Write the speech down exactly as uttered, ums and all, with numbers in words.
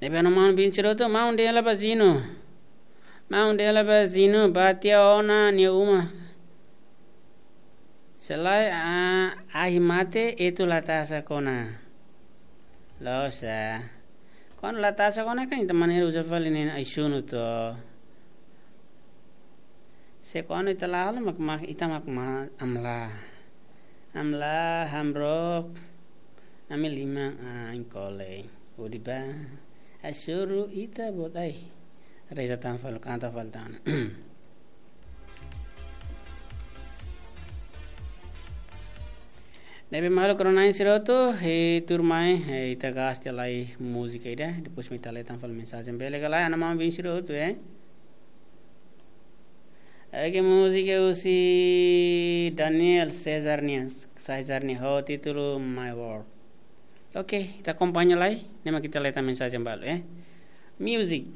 Ne'ebé ha'u-nia maun biin sira hotu, maun dehan hela ba Zinu. Maun dehan hela ba Zinu, bá tiha ona nia uma. Se lae, ah, ahi mate, etu la tasak ona. Loos, ah. Kuandu la tasak ona kan, ita manera uza fali nia ai-sunu to. Se kuandu ita la halo mak, mak, ita mak ma amla. Amla, hamrook, ami liman, ah, inkole. Udi ba, ai-sunu ita bot ai. Reza tan fali, kanta fali tan. Ne'ebé maluk rona-na'in sira hotu, eh, tuirmai, eh, ita gasta lai múzika ida, depois mak ita lee tan fali mensajen. Bele ka lae, ha'u-nia maun biin sira hotu, eh. Oke, múzika husi Daniel Cesar nian, Cesar nian, ho títulu My World. Oke, ita akompaña lai, ne'e mak ita lee tan mensajen balu, eh. Music.